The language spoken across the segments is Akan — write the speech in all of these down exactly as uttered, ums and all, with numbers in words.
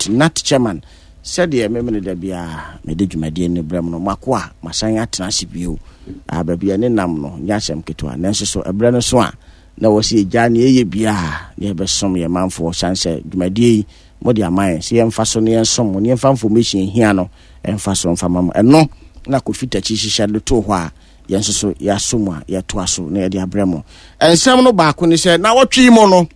N A T chairman. Sɛdeɛ memene da biara mede dwumadie no brɛ mu no, mako a masan atena ase bio a baabi a ne nam no nyɛ asɛm ketewa, nanso so ɛberɛ no so a na wɔ sɛ yɛgya ne ɛyɛ biaa ne yɛbɛsom yɛ manfoɔ, sane sɛ dwumadie yi mode ama yɛn sɛ yɛmfa so ne yɛnsom mo ne yɛmfa information hia no ɛmfa so mfa ma mo. Ɛno na Kofi Takyi hyehyɛ de too hɔ a yɛn nso so yɛaso mu a yɛtoa so na yɛde abrɛ mo. Nsɛm no baako ne sɛ na wɔtwe mu no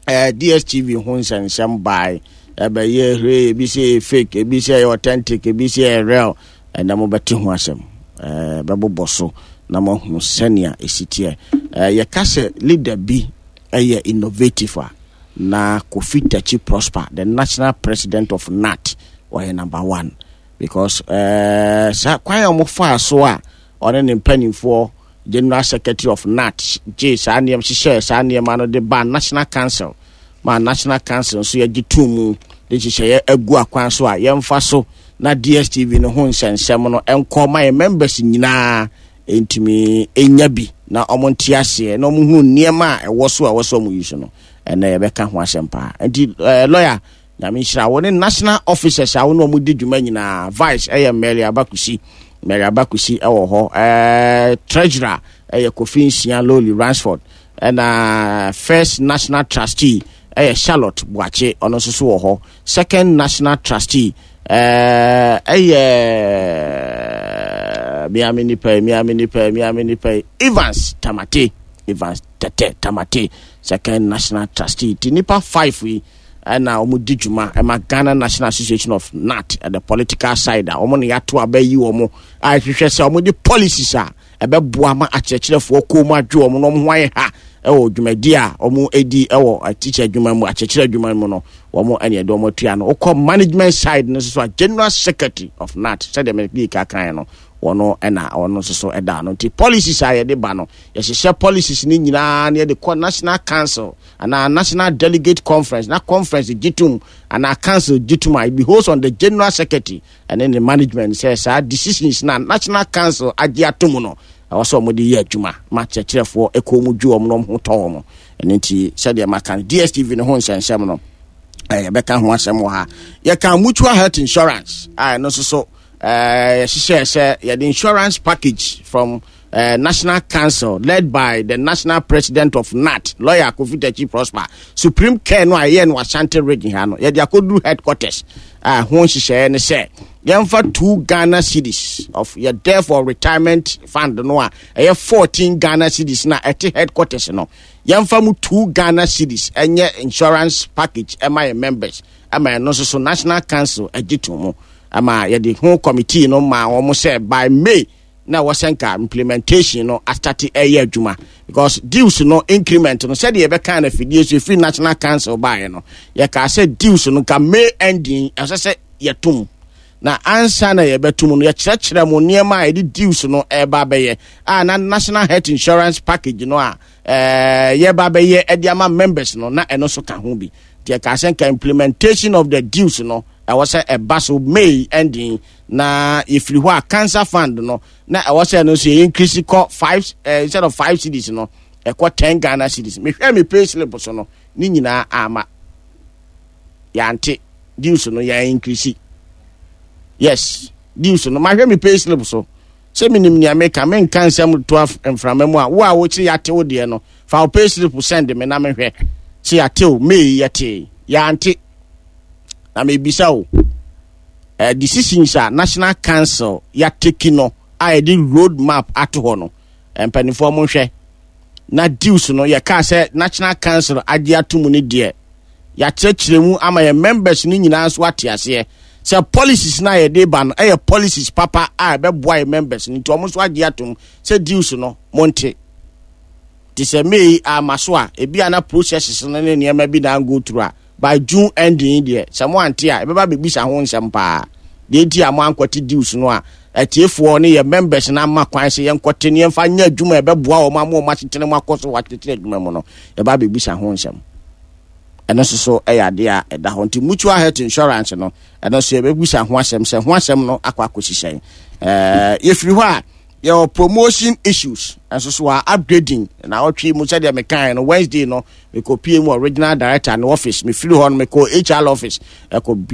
eh, D S T V ho nsɛnsɛm bae, ɛbɛyɛ hwee, ebi sɛ ɛyɛ fake, ebi sɛ ɛyɛ authentic, ebi sɛ ɛyɛ real. Ɛnna mobɛte ho asɛm, ɛɛ bɛbobɔ so na moahunu sɛnea ɛsi teɛ. ɛɛ yɛka sɛ leader bi ɛyɛ innovative a, na Kofi Takyi Prosper, the national president of N A T, ɔyɛ number one, because ɛɛ saa kwan a wɔfaa so a ɔne ne mpanimfoɔ, general secretary of N A T, gye saa nneɛma hyehyɛ saa nneɛma no de ba National Council, ma National Council nso yɛgye tum mu de nhyehyɛeɛ agu akwan so a yɛmfa so na D S T V no ho nsɛnsɛm no nkɔ ma yɛn members nyinaa ntumi nya bi na wɔn nte aseɛ na wɔn hu nneɛma a ɛwɔ so a ɛwɔ so wɔn yi so no. Ɛnna yɛbɛka ho asɛm paa. Nti ɛɛ lawyer, Nyame nhyira wo ne national officers a wo ne wɔn di dwuma nyinaa. Vice ɛyɛ Mary Abakusi, Mary Abakusi ɛwɔ hɔ. ɛɛ treasurer ɛyɛ Kofi Nsia Loli Ransford, ɛna first national trustee ɛyɛ Charlotte Buakye, ɔno nso so wɔ hɔ. Second national trustee ɛɛ ɛyɛ miami nipa yi, miami nipa yi, miami nipa yi, Evans Tamate, Evans Tete Tamate, second national trustee. Ti nipa five yi ɛna wɔn di dwuma ɛma Ghana National Association of N A T at the political side a wɔn na yɛato aba yi wɔn a ɛhwehwɛ sɛ wɔn de policies a ɛbɛboa ma akyerɛkyerɛfoɔ kɔn mu adwo wɔn na wɔn ho ayɛ ha ɛwɔ dwumadi a wɔn edi ɛwɔ teacher adwuma mu, akyerɛkyerɛ adwuma mu no, wɔn ɛna ɛde wɔn atua no. Wokɔ management side no nso so a, general secretary of N A T, sɛdeɛ mɛ bi kakan no, wɔn ɛna wɔn nso so ɛda no. Nti policies a yɛde ba no, yɛhyehyɛ policies no nyinaa na yɛde kɔ National Council anaa National Delegate Conference, na conference gye tum anaa council gye tum a, it behoves on the general secretary ɛne ne management sɛ saa decisions na National Council agye atom no, ɛwɔ sɛ wɔde yɛ adwuma ma kyerɛkyerɛfoɔ ɛkɔn mu dwo wɔn na wɔn ho tɔ wɔn. Ɛno nti sɛdeɛ maka no, D S T V no ho nsɛnsɛm no, ɛɛ yɛbɛka ho asɛm wɔ ha. Yɛka mutual health insurance a, ɛno nso so ɛɛ yɛhyehyɛ sɛ yɛde insurance package from uh, National Council led by the national president of N A T, lawyer Kofi Takyi Prosper, Supreme Care no a ɛyɛ no Ashanti Region ha no, yɛde akɔduru headquarters a ho nhyehyɛeɛ ne sɛ yɛmfa two Ghana cedis of yɛ death or retirement fund no a ɛyɛ fourteen Ghana cedis na ɛte headquarters no, yɛmfa mu two Ghana cedis ɛnyɛ insurance package ɛma yɛ members. Ɛma ɛno nso so National Council agye to mu ama yɛde ho committee no ma wɔn sɛ by May na wɔsɛ nka implementation no astart ɛyɛ adwuma, because dues no increment no, sɛdeɛ yɛbɛka no afidie so ɛfiri National Council baeɛ no, yɛkaa sɛ dues no nka May ending ɛsɛ sɛ yɛtom, na ansa na yɛbɛtom no, yɛkyerɛkyerɛ mu nneɛma a yɛde dues no ɛreba abɛyɛ a na national health insurance package no a ɛɛ yɛba abɛyɛ ɛde ama members no, na ɛno nso ka ho bi. Nti yɛkaa sɛ nka implementation of the dues no ɛwɔ sɛ ɛba so May ending. Na yɛfiri hɔ a, cancer fund no na ɛwɔ sɛ ɛno nso yɛ increase kɔ five uh, instead of five cedis no, ɛkɔ ten Ghana cedis. Mehwɛ me pay slip so no, ne nyinaa ama yɛante dues no yɛn increase. Yes, dues no, mahwɛ me pay slip so sɛ menim nea meka. Menka nsɛm to mframa mu a wo a wokyerɛ yɛate wo deɛ no, fa wo pay slip send me na mehwɛ sɛ yɛate o. May yɛte, yɛante. Na mebisa o, uh, decisions a National Council yɛatake no a yɛde road map ato hɔ no, mpanimfoɔ mo nhwɛ na dues no yɛkaa sɛ National Council agye ato mu no deɛ, yɛakyerɛkyerɛ mu ama yɛn members no nyinaa nso ate aseɛ sɛ policies no a yɛde ba no ɛyɛ policies papa a ɛbɛboa yɛn members no, nti wɔn nso agye atom sɛ dues no monte. Te sɛ May ama so a, ebi ana processes no ne nneɛma bi na go through a, by June ending deɛ, sɛ mo ante a, ɛbɛba bɛbisa ho nsɛm paa deɛ nti a mo ankɔte dues no a atiefoɔ ne yɛ members no ama kwan sɛ yɛnkɔte ne yɛmfa nyɛ adwuma a ɛbɛboa wɔn ama wɔn asetena mu akɔ so wɔ atetene adwuma mu no, yɛba bɛbisa ho nsɛm. Ɛno nso so ɛyɛ adeɛ a ɛda hɔ. Nti mutual health insurance no, ɛno nso yɛbɛbisa ho asɛm sɛ ho asɛm no akɔ akɔsi ɛɛ yɛfiri hɔ a, yɛwɔ promotion issues nso so a upgrading na ɔtwe mu. Sɛdeɛ mekae no, Wednesday no mekɔpie mu wɔ regional director no office. Mefiri hɔ no, mekɔ H R office ɛkɔ.